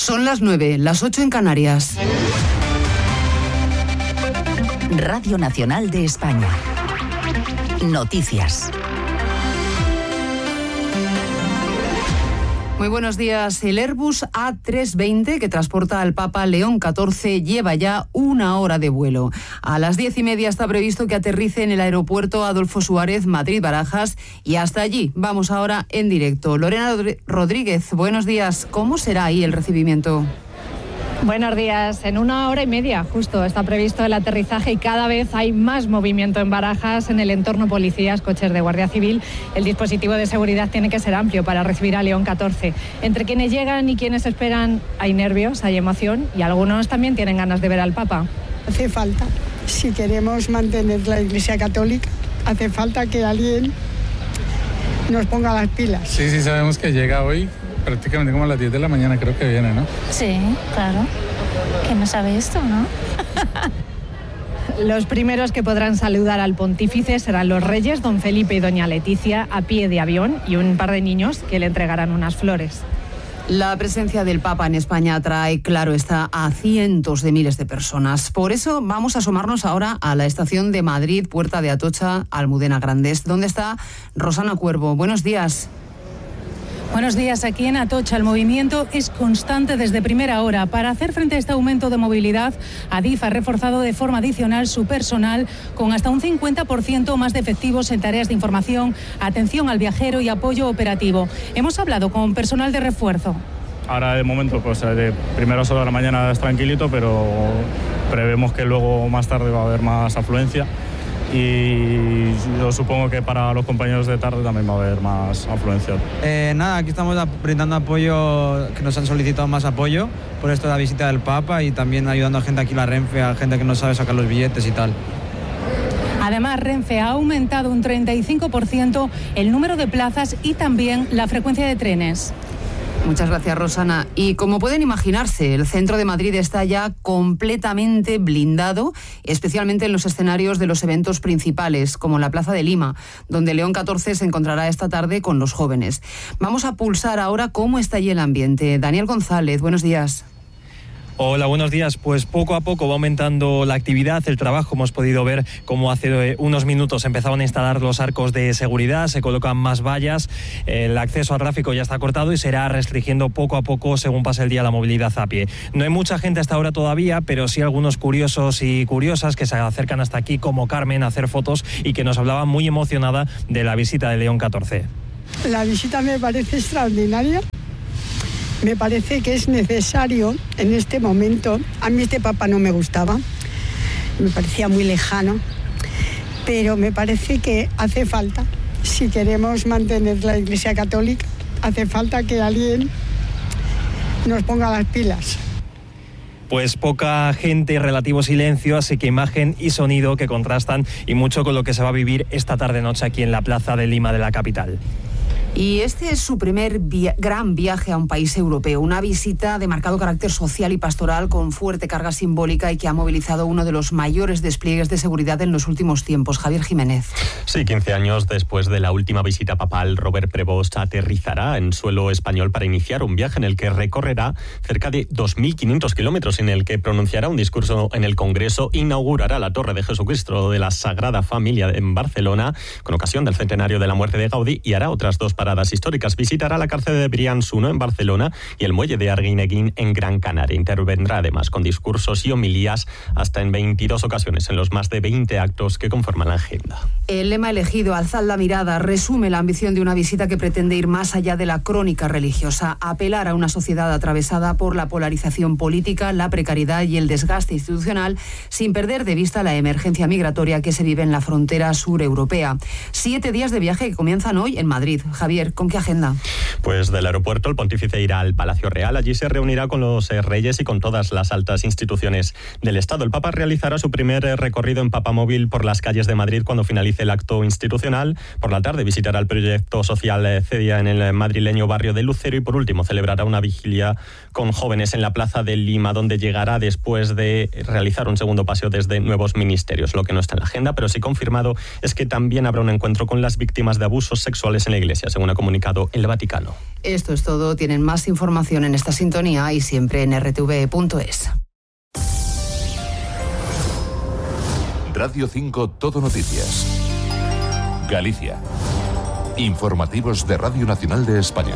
Son las 9, las 8 en Canarias. Radio Nacional de España. Noticias. Muy buenos días. El Airbus A320, que transporta al Papa León XIV, lleva ya 1 hora de vuelo. A las 10:30 está previsto que aterrice en el aeropuerto Adolfo Suárez, Madrid-Barajas, y hasta allí vamos ahora en directo. Lorena Rodríguez, buenos días. ¿Cómo será ahí el recibimiento? Buenos días. En 1 hora y media justo está previsto el aterrizaje y cada vez hay más movimiento en Barajas, en el entorno policías, coches de Guardia Civil. El dispositivo de seguridad tiene que ser amplio para recibir a León XIV. Entre quienes llegan y quienes esperan hay nervios, hay emoción y algunos también tienen ganas de ver al Papa. Hace falta, si queremos mantener la Iglesia Católica, hace falta que alguien nos ponga las pilas. Sí, sabemos que llega hoy. Prácticamente como a las 10 de la mañana creo que viene, ¿no? Sí, claro. ¿Quién no sabe esto, no? Los primeros que podrán saludar al pontífice serán los reyes, don Felipe y doña Leticia, a pie de avión, y un par de niños que le entregarán unas flores. La presencia del Papa en España atrae, claro está, a cientos de miles de personas. Por eso vamos a asomarnos ahora a la estación de Madrid, Puerta de Atocha, Almudena Grandes, donde está Rosana Cuervo. Buenos días. Buenos días. Aquí en Atocha el movimiento es constante desde primera hora. Para hacer frente a este aumento de movilidad, Adif ha reforzado de forma adicional su personal con hasta un 50% más de efectivos en tareas de información, atención al viajero y apoyo operativo. Hemos hablado con personal de refuerzo. Ahora de momento, pues de primeras horas de la mañana es tranquilito, pero prevemos que luego más tarde va a haber más afluencia. Y yo supongo que para los compañeros de tarde también va a haber más afluencia. Aquí estamos brindando apoyo, que nos han solicitado más apoyo por esto de la visita del Papa y también ayudando a gente aquí en la Renfe, a gente que no sabe sacar los billetes y tal. Además, Renfe ha aumentado un 35% el número de plazas y también la frecuencia de trenes. Muchas gracias, Rosana. Y como pueden imaginarse, el centro de Madrid está ya completamente blindado, especialmente en los escenarios de los eventos principales, como la Plaza de Lima, donde León XIV se encontrará esta tarde con los jóvenes. Vamos a pulsar ahora cómo está allí el ambiente. Daniel González, buenos días. Hola, buenos días. Pues poco a poco va aumentando la actividad, el trabajo. Hemos podido ver cómo hace unos minutos empezaban a instalar los arcos de seguridad, se colocan más vallas, el acceso al tráfico ya está cortado y se irá restringiendo poco a poco según pase el día la movilidad a pie. No hay mucha gente hasta ahora todavía, pero sí algunos curiosos y curiosas que se acercan hasta aquí, como Carmen, a hacer fotos y que nos hablaba muy emocionada de la visita de León XIV. La visita me parece extraordinaria. Me parece que es necesario en este momento. A mí este Papa no me gustaba, me parecía muy lejano, pero me parece que hace falta, si queremos mantener la Iglesia Católica, hace falta que alguien nos ponga las pilas. Pues poca gente, relativo silencio, así que imagen y sonido que contrastan y mucho con lo que se va a vivir esta tarde-noche aquí en la Plaza de Lima de la capital. Y este es su primer gran viaje a un país europeo, una visita de marcado carácter social y pastoral con fuerte carga simbólica y que ha movilizado uno de los mayores despliegues de seguridad en los últimos tiempos. Javier Jiménez. Sí, 15 años después de la última visita papal, Robert Prevost aterrizará en suelo español para iniciar un viaje en el que recorrerá cerca de 2.500 kilómetros, en el que pronunciará un discurso en el Congreso, inaugurará la Torre de Jesucristo de la Sagrada Familia en Barcelona con ocasión del centenario de la muerte de Gaudí y hará otras 2 paradas históricas. Visitará la cárcel de Brians 1 en Barcelona y el muelle de Arguineguín en Gran Canaria. Intervendrá además con discursos y homilías hasta en 22 ocasiones en los más de 20 actos que conforman la agenda. El lema elegido, Alzad la mirada, resume la ambición de una visita que pretende ir más allá de la crónica religiosa, apelar a una sociedad atravesada por la polarización política, la precariedad y el desgaste institucional, sin perder de vista la emergencia migratoria que se vive en la frontera sureuropea. 7 días de viaje que comienzan hoy en Madrid. Javier, ¿con qué agenda? Pues del aeropuerto el pontífice irá al Palacio Real. Allí se reunirá con los reyes y con todas las altas instituciones del Estado. El Papa realizará su primer recorrido en papamóvil por las calles de Madrid cuando finalice el acto institucional. Por la tarde visitará el proyecto social CEDIA en el madrileño barrio de Lucero y por último celebrará una vigilia con jóvenes en la Plaza de Lima, donde llegará después de realizar un segundo paseo desde nuevos ministerios. Lo que no está en la agenda, pero sí confirmado, es que también habrá un encuentro con las víctimas de abusos sexuales en la Iglesia. Según según ha comunicado el Vaticano. Esto es todo. Tienen más información en esta sintonía y siempre en rtv.es. Radio 5 Todo Noticias. Galicia. Informativos de Radio Nacional de España.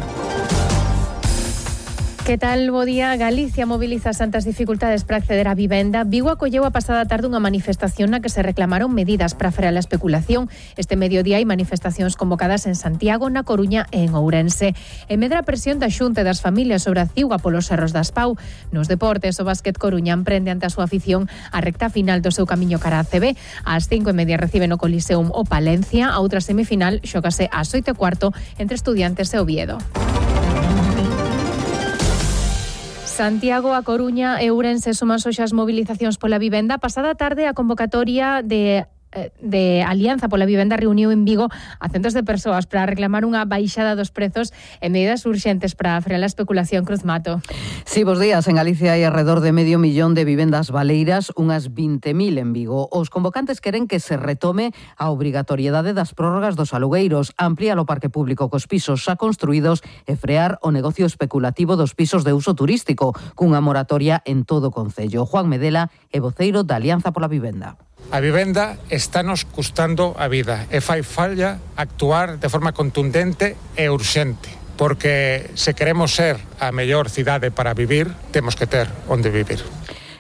Que tal, bo día? Galicia moviliza santas dificultades para acceder á vivenda. Vigo acolleu a pasada tarde unha manifestación na que se reclamaron medidas para frear a especulación. Este mediodía hai manifestacións convocadas en Santiago, na Coruña e en Ourense. E medra a presión da Xunta e das familias sobre a Ciuga polos erros das Pau. Nos deportes, o Básquet Coruña emprende ante a súa afición a recta final do seu camiño cara a ACB. Ás 5:30 recibe no Coliseum o Palencia. A outra semifinal xógase ás 8:15 entre Estudiantes e Oviedo. Santiago, A Coruña e Ourense suman hoxe as movilizacións pola vivenda. Pasada tarde a convocatoria de Alianza pola Vivenda reuniu en Vigo a centos de persoas para reclamar unha baixada dos prezos e medidas urxentes para frear a especulación. Cruz Mato. Sí, bos días. En Galicia hai alrededor de 500.000 de vivendas baleiras, unhas 20.000 en Vigo. Os convocantes queren que se retome a obrigatoriedade das prórrogas dos alugueiros, ampliar o parque público cos pisos xa construídos e frear o negocio especulativo dos pisos de uso turístico, cunha moratoria en todo o concello. Juan Medela é voceiro da Alianza pola Vivenda. A vivenda estános custando a vida e fai falla actuar de forma contundente e urxente, porque se queremos ser a mellor cidade para vivir, temos que ter onde vivir.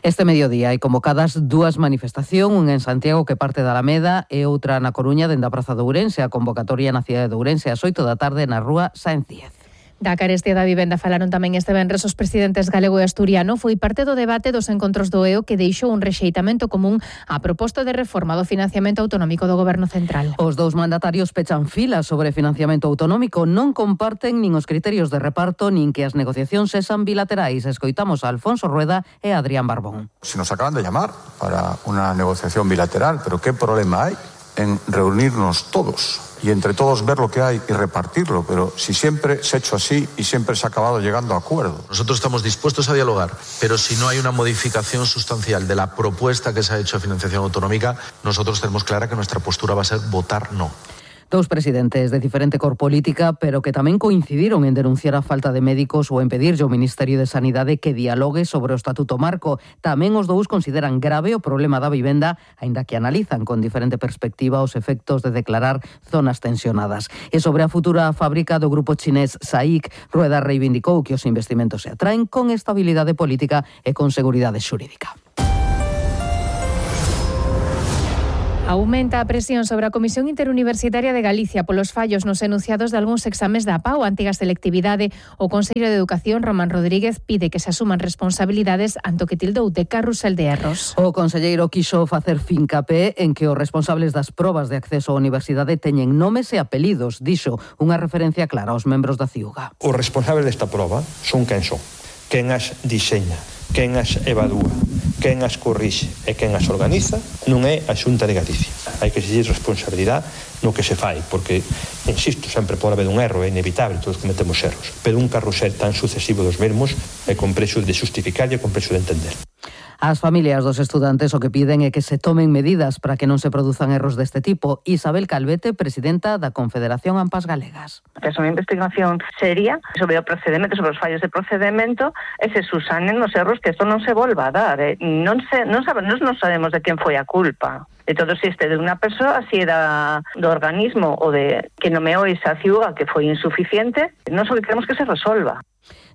Este mediodía hai convocadas dúas manifestacións, unha en Santiago que parte da Alameda e outra na Coruña dende a Praza de Ourense. A convocatoria na cidade de Ourense ás 8 da tarde na rúa Sáenz Díez. Da carestía da vivenda falaron tamén este venres os presidentes galego e asturiano. Foi parte do debate dos encontros do EO que deixou un rexeitamento común á proposta de reforma do financiamento autonómico do Goberno Central. Os dous mandatarios pechan filas sobre financiamento autonómico. Non comparten nin os criterios de reparto nin que as negociacións sexan bilaterais. Escoitamos a Alfonso Rueda e a Adrián Barbón. Si nos acaban de llamar para una negociación bilateral, pero ¿qué problema hay en reunirnos todos y entre todos ver lo que hay y repartirlo? Pero si siempre se ha hecho así y siempre se ha acabado llegando a acuerdos. Nosotros estamos dispuestos a dialogar, pero si no hay una modificación sustancial de la propuesta que se ha hecho de financiación autonómica, nosotros tenemos clara que nuestra postura va a ser votar no. Dous presidentes de diferente cor política, pero que tamén coincidiron en denunciar a falta de médicos ou en pedirlle ao Ministerio de Sanidade que dialogue sobre o Estatuto Marco. Tamén os dous consideran grave o problema da vivenda, aínda que analizan con diferente perspectiva os efectos de declarar zonas tensionadas. E sobre a futura fábrica do grupo chinés SAIC, Rueda reivindicou que os investimentos se atraen con estabilidade política e con seguridade xurídica. Aumenta a presión sobre a Comisión Interuniversitaria de Galicia polos fallos nos enunciados de algúns exames da PAU, antiga selectividade. O Consello de Educación, Román Rodríguez, pide que se asuman responsabilidades ante o que tildou de carrusel de erros. O conselleiro quixo facer fincapé en que os responsables das probas de acceso á universidade teñen nomes e apelidos, dixo, unha referencia clara aos membros da Ciuga. Os responsables desta proba son quen son, quen as diseña, quen as evalúa, quen as corrixe e quen as organiza non é a Xunta de Galicia. Hai que exigir responsabilidade no que se fai, porque, insisto, sempre pode haber un erro, é inevitable, todos cometemos erros, pero un carrusel tan sucesivo dos mesmos é complexo de justificar e é complexo de entender. As familias dos estudantes o que piden é que se tomen medidas para que non se produzan erros deste tipo. Isabel Calvete, presidenta da Confederación AMPAs Galegas. Que é unha investigación seria sobre o procedimento, sobre os fallos de procedimento e se susanen os erros, que isto non se volva a dar. Non sabemos de quen foi a culpa. De todo se este de unha persoa, se era do organismo ou de que nomeou esa Ciuga que foi insuficiente, non só que queremos que se resolva.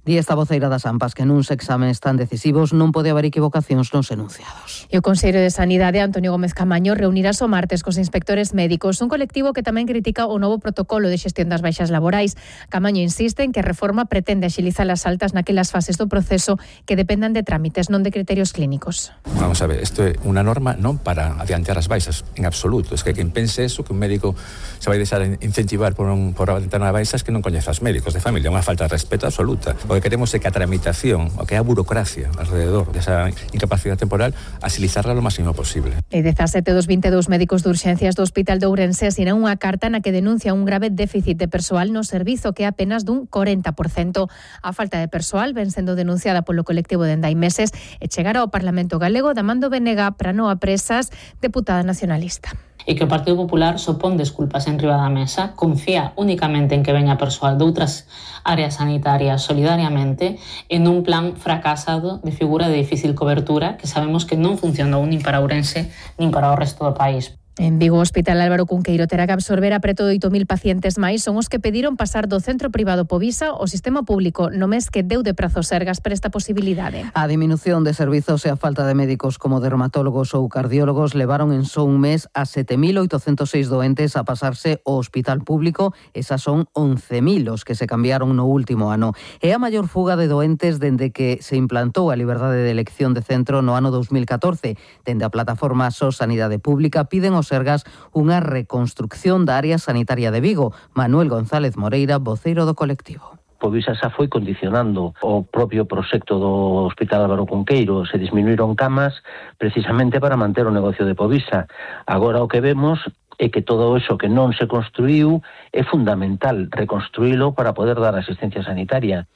Di esta voceira das AMPAs que nuns exames tan decisivos non pode haber equivocacións nos enunciados. E o Consello de Sanidade, Antonio Gómez Camaño, reunirase o martes cos inspectores médicos, un colectivo que tamén critica o novo protocolo de xestión das baixas laborais. Camaño insiste en que a reforma pretende axilizar as altas naquelas fases do proceso que dependan de trámites, non de criterios clínicos. Vamos a ver, isto é unha norma non para adiantar as baixas, en absoluto. Es que quen pense eso, que un médico se vai deixar incentivar por adiantar as baixas, que non coñece os médicos de familia, unha falta de respeto absoluta. O que queremos é que a tramitación, o que é a burocracia alrededor desa incapacidade temporal, agilizarla lo máximo posible. E 17 dos 22 médicos de urxencias do Hospital de Ourense asinan unha carta na que denuncia un grave déficit de persoal no servizo, que é apenas dun 40%. A falta de persoal ven sendo denunciada polo colectivo de hai meses e chegará ao Parlamento Galego da Mando Venega para non a presas, deputada nacionalista. e que o Partido Popular sopón desculpas en riba da mesa, confía únicamente en que veña persoal de outras áreas sanitarias solidariamente e nun plan fracasado de figura de difícil cobertura que sabemos que non funcionou nin para Ourense nin para o resto do país. En Vigo, o Hospital Álvaro Cunqueiro terá que absorber a preto de 8.000 pacientes máis. Son os que pediron pasar do centro privado Povisa ao sistema público no mes que deu de prazo Sergas para esta posibilidade. A diminución de servizos e a falta de médicos como dermatólogos ou cardiólogos levaron en só un mes a 7.806 doentes a pasarse ao hospital público. Esas son 11.000 os que se cambiaron no último ano. É a maior fuga de doentes dende que se implantou a liberdade de elección de centro no ano 2014. Dende a plataforma SOS Sanidade Pública piden aos Sergas unha reconstrucción da área sanitaria de Vigo. Manuel González Moreira, voceiro do colectivo. Povisa xa foi condicionando o propio proxecto do Hospital Álvaro Cunqueiro. Se disminuíron camas precisamente para manter o negocio de Povisa. Agora o que vemos é que todo iso que non se construíu é fundamental reconstruílo para poder dar asistencia sanitaria.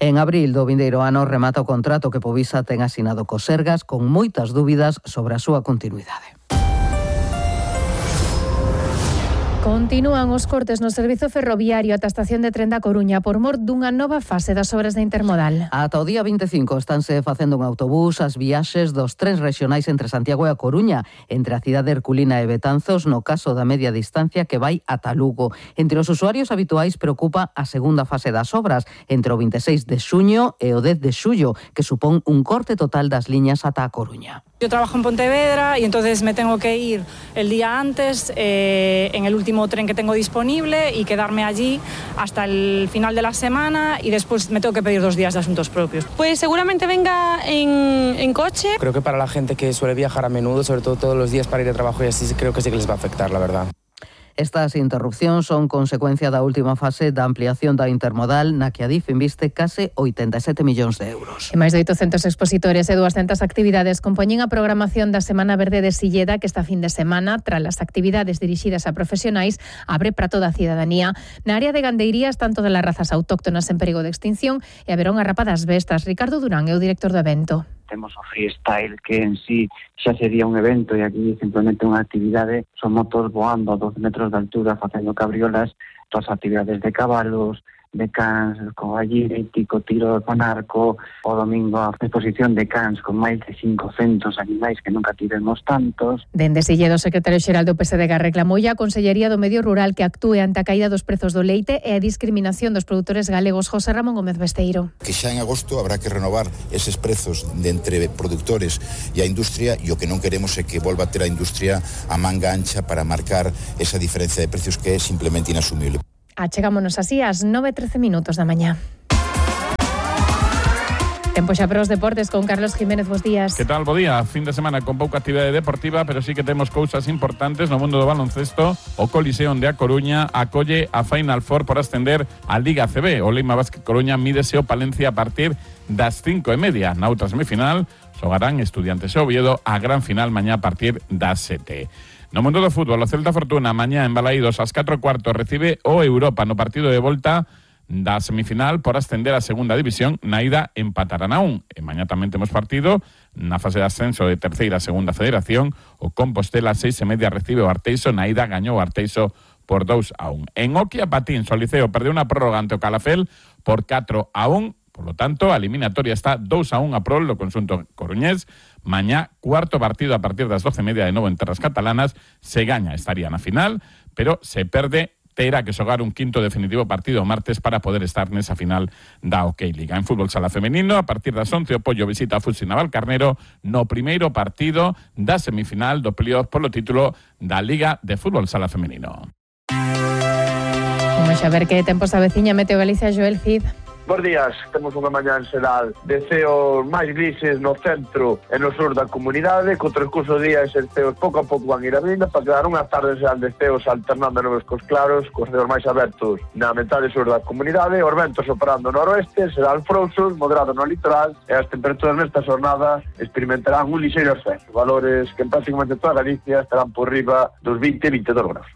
En abril do vindeiro ano remata o contrato que Povisa ten asinado cos Sergas con moitas dúbidas sobre a súa continuidade. Continúan os cortes no servizo ferroviario ata a estación de tren da Coruña por mor dunha nova fase das obras de intermodal. Ata o día 25 estánse facendo un autobús as viaxes dos trens rexionais entre Santiago e a Coruña, entre a cidade herculina e Betanzos, no caso da media distancia que vai ata Lugo. Entre os usuarios habituais preocupa a segunda fase das obras, entre o 26 de xuño e o 10 de xullo, que supón un corte total das liñas ata a Coruña. Yo trabajo en Pontevedra y entonces me tengo que ir el día antes en el último tren que tengo disponible y quedarme allí hasta el final de la semana y después me tengo que pedir 2 días de asuntos propios. Pues seguramente venga en coche. Creo que para la gente que suele viajar a menudo, sobre todo todos los días para ir de trabajo y así, creo que sí que les va a afectar, la verdad. Estas interrupcións son consecuencia da última fase da ampliación da intermodal na que Adif inviste case 87 millóns de euros. E máis de 800 expositores e 200 actividades compoñen a programación da Semana Verde de Silleda que esta fin de semana, tras as actividades dirixidas a profesionais, abre para toda a cidadanía. Na área de gandeiría están todas as razas autóctonas en perigo de extinción e haberá unha rapa das bestas. Ricardo Durán é o director do evento. Temos o freestyle que en sí xa sería un evento e aquí simplemente unha actividade, son motos voando a 12 metros de altura facendo cabriolas, todas as actividades de cabalos, de cans, con gallítico, tiro con arco, o domingo a exposición de cans con máis de 500 animais que nunca tivemos tantos. Dende Silledo, o secretario xeral do PSDG reclamou a Consellería do Medio Rural que actúe ante a caída dos prezos do leite e a discriminación dos produtores galegos. José Ramón Gómez Besteiro. Que xa en agosto habrá que renovar eses prezos de entre produtores e a industria, e o que non queremos é que volva a ter a industria a manga ancha para marcar esa diferencia de precios que é simplemente inasumible. Achegámonos así ás 9:13 da mañá. Tempo xa para os deportes con Carlos Jiménez, bos días. Que tal, bo día? Fin de semana con pouca actividade deportiva, pero sí que temos cousas importantes no mundo do baloncesto. O Coliseum de A Coruña acolle a Final Four por ascender a Liga CB. O Leima Basket Coruña mídese o Palencia a partir das 5:30. Na outra semifinal xogarán Estudiantes e Oviedo a gran final mañá a partir das 7. No mundo do fútbol, o Celta Fortuna mañá en Balaídos ás 4:15 recibe o Europa no partido de volta da semifinal por ascender a segunda división. Na ida empatarán a 1. E mañá tamén temos partido na fase de ascenso de terceira a segunda federación. O Compostela 6:30 recibe o Arteixo. Na ida gañou o Arteixo por 2-1. En hockey a patins, o Liceo perdeu unha prórroga ante o Calafel por 4-1. Por lo tanto, a eliminatoria está 2-1 a prol do conxunto coruñés. Mañá, cuarto partido a partir das 12:30 de novo en terras catalanas. Se gaña, estaría na final, pero se perde, terá que xogar un quinto definitivo partido o martes para poder estar nesa final da OK Liga. En fútbol sala femenino, a partir das 11, o Pollo visita a Fusi Navalcarnero no primeiro partido da semifinal do playoff polo título da Liga de Fútbol Sala Femenino. Vamos a ver que tempo se aveciña. Meteo Galicia, Joel Cid. Bos días, temos unha mañá en xeral de ceos máis grises no centro e no sur da comunidade, co transcurso do día eses ceos pouco a pouco van ir abrindo para quedar unhas tardes xeral de ceos alternando nubes cos claros, cos ceos máis abertos na metade sur da comunidade, os ventos soprando noroeste, serán frouxos, moderado no litoral e as temperaturas nesta xornada experimentarán un lixeiro ascenso, valores que en prácticamente toda Galicia estarán por riba dos 20-22 graus.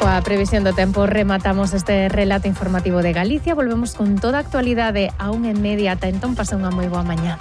Coa previsión do tempo rematamos este relato informativo de Galicia. Volvemos con toda a actualidade a 1:30. Ata entón, pasa unha moi boa mañá.